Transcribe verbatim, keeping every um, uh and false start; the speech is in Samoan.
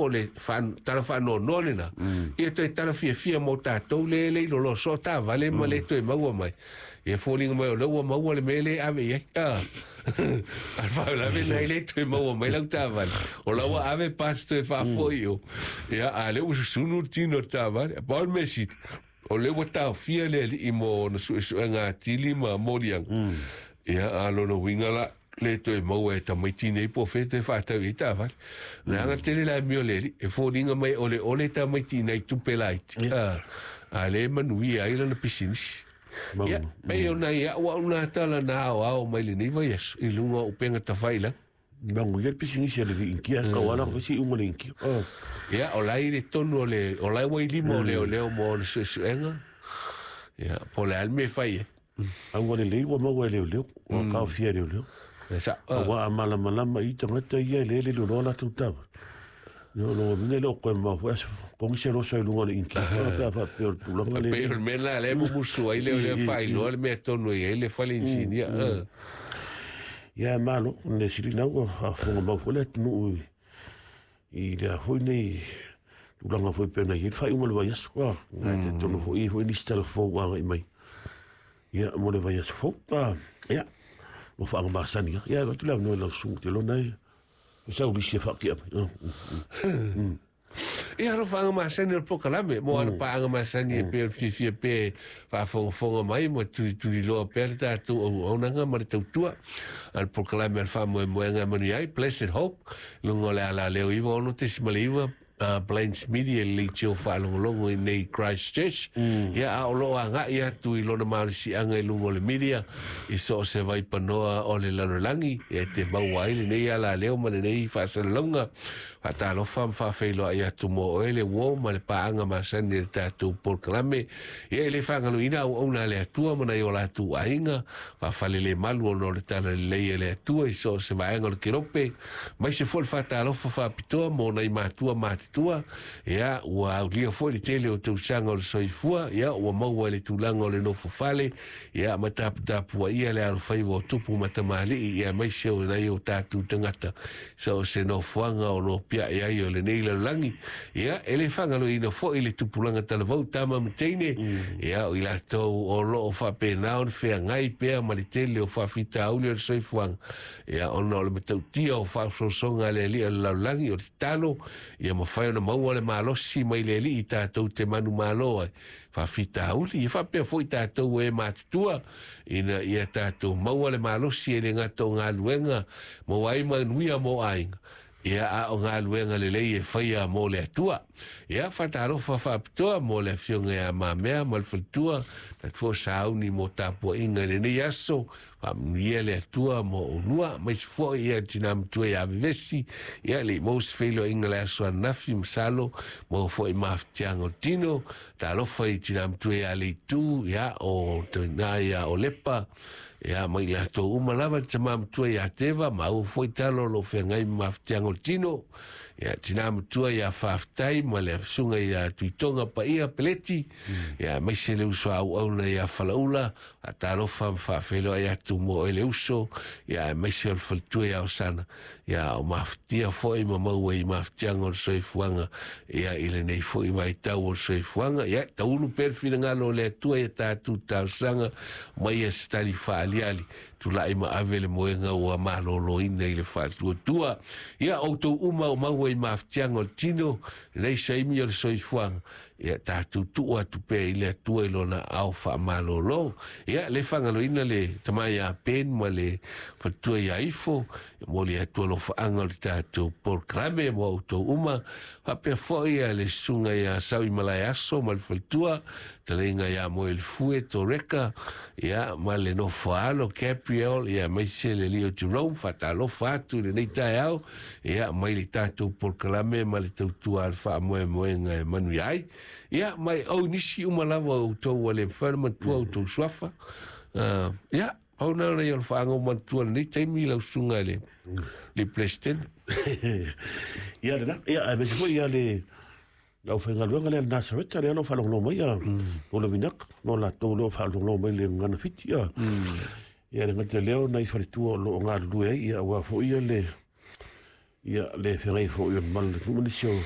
O le tala faanoanoa lena, ia toe tala fiafia mo tatou le le iloloa soo taavale ma le toe maua mai. Ia foliga mai o lea ua maua le mea lea e ave i ai. A le faalavelave na e le toe maua mai lau taavale, o la ua ave parts toe faafoi i o. Ia a lea ua susunu le tino o le taavale. Pau le mea sili, o lea ua taofia le alii mo ona suesuega atili ma moliaga. Ia a lona uiga la, le toe maua e tamaiti nei po o fea toe faatau i ai taavale. Leaga tele le amio le alii, e foliga mai o le ole tamaiti i nai tupe laiti, a, a le manuia ai lana pisinisi. Ia, pei ona i au au nā tala na aoao mai lenei vaiaso i luga o upega tafailagi. Manuia le pisinisi a le Inikia, tauala foi se iuga le Inikia. Ia, o la e i le tonu o le, o la e ua i lima o leoleo mo ona suesuega. Ia, po o le a le mea e fai ai. Auga lelei ua maua e leoleo, ua taofia e leoleo. Aua a malamalama i tagata ia e le le loloa latou taavale. Ia o lona uiga e le o toe mamao foi aso togi se loso i luga o le Inikia pe a faapea o le tulaga lea. Pei o le mea lena lea e mumusu ai leoleo e faailoa le mea tonu e i ai le fale inisinia. Ia malo, le sili na ua faafofoga mau foi le atunuu i lea foi nei tulaga foi pei ona i ai le faaiuga o le vaiaso. Ae talitonu foi e i ai foi nisi tala fou ua agai mai ia mo le vaiaso fou. Ia, ua faagamasani lava. Ia, avatu le avanoa i lau susuga Telona e sau lisi e faatia mai. Ia, alo faagamasani o le polokalame mo ana paaga masani e pei o le fiafia pea e faafogafoga mai ma tulituliloa pea le tatou auaunaga ma le tautua a le polokalame a le faamoemoega e manuia ai Blessed Hope i luga o le alaleo iva ono tesimale iva uh, Plains Media i le leitio faalogologo i nei Christchurch. Mm. Ia, a o loo agai atu i lona malosiaga i luga o le media i so o se vaipanoa o le lalolagi e te maua ai lenei alaleo ma lenei faasalalauga. Faatalofa ma faafeiloai atu mo oe le uo ma le paaga masani i le tatou polokalame. Ia, e le faagaloina auauna a le Atua ma nai o latou aiga faafalelemalu ona o le talalelei e le Atua i so o se vaega o le kelope. Mai se foi le faatalofa faapitoa mo nai matua matutua. Ia, ua aulia foi le tele o tausaga o le soifua. Ia, ua maua i le tulaga o le nofo fale. Ia, ma taputapuaia le alofaiva o tupu ma tamalii, ia aemaise o nai o tatou tagata so o se nofoaga o nopiai ai o lenei lalolagi. Ia, e le faagaloina foi le tupulaga talavou tama ma teine, ia, o i latou o loo faapena ona feagai pea ma le tele o faafitauli o le soifuaga, ia, ona o le matautia o faasoasoga a le Alii o le lalolagi. O le tatalo ia mafai ona maua le malosi mai le Alii tatou te manumalo ai faafitauli. Ia faapea foi tatou e matutua ina ia tatou maua le malosi e le gata o galuega maua ai manuia mo aiga, ia, a o galuega lelei e faia mo le Atua. Ia, faatalofa faapitoa mo le afioga ia Mamea ma le faletua tatou foi sauni mo tapuaiga i lenei aso. Faamanuia le Atua mo oulua, aemaise foi ia tina matua ia Vevesi. Ia, le i maua se feiloaiga le aso ananafi, masalo maua foi mafatiaga o le tino. Talofa i tina matua ia Leitu, ia o toina ia Olepa, ia ma i latou uma lava, le tama matua ia Teva, maua foi talo o lo o feagai ma mafatiaga o le tino. Ia, tina matua ia Faafetai ma le susuga ia Tuitoga Paia Peleti, ia aemaise le uso auauna ia Falaula. Faatalofa ma faafeiloai atu mo oe le uso, ia aemaise o le faletua ia Osana. Ia, o mafatia foi ma maua i mafatiaga o le soifuaga, ia, i lenei foi vaitau o le soifuaga. Ia, taulu pea le finagalo o le Atua ia tatou talosaga mai ia se tali faaliali tulai ma ave le moega ua maloloina i le faatuatua. Ia, outou uma o maua i mafatiaga o le tino lenei saimi o le soifuaga, ia tatou tuu atu pea i le Atua i lona ao faamalolo. Ia, le faagaloina le tama ia Ben ma le faletua ia Ifo, mo le Atua alofaaga o le tatou polokalame mo outou uma. Faapea foi ia le susuga ia Saui Malaeaso ma le faletua, taleiga ia Moelefue Toreka, ia, ma le nofoaalo Gabriel, ia, aemaise le alii o Jerome. Faatalofa atu i lenei taeao, ia, mai le tatou polokalame ma le tautua a le faamoemoega e manuia ai. Ia, mai au nisi uma lava o outou ua le mafai ona manatua outou suafa. Uh, ia, pau na ona ia o le faagau manatua lenei taimi lau susuga i le, le President. Ia lena, ia, aemaise foi ia le le aufaigaluega lea le Nasareta lea o lo o faalogologo mai ia mo le vinaka mo latou lea o faalogologo mai le gagana fiti ia. Ia le gata lea o nai faletua o lo o galulue ai ia aua foi ia le ia le feagai foi o le malu le nuu ma nisi o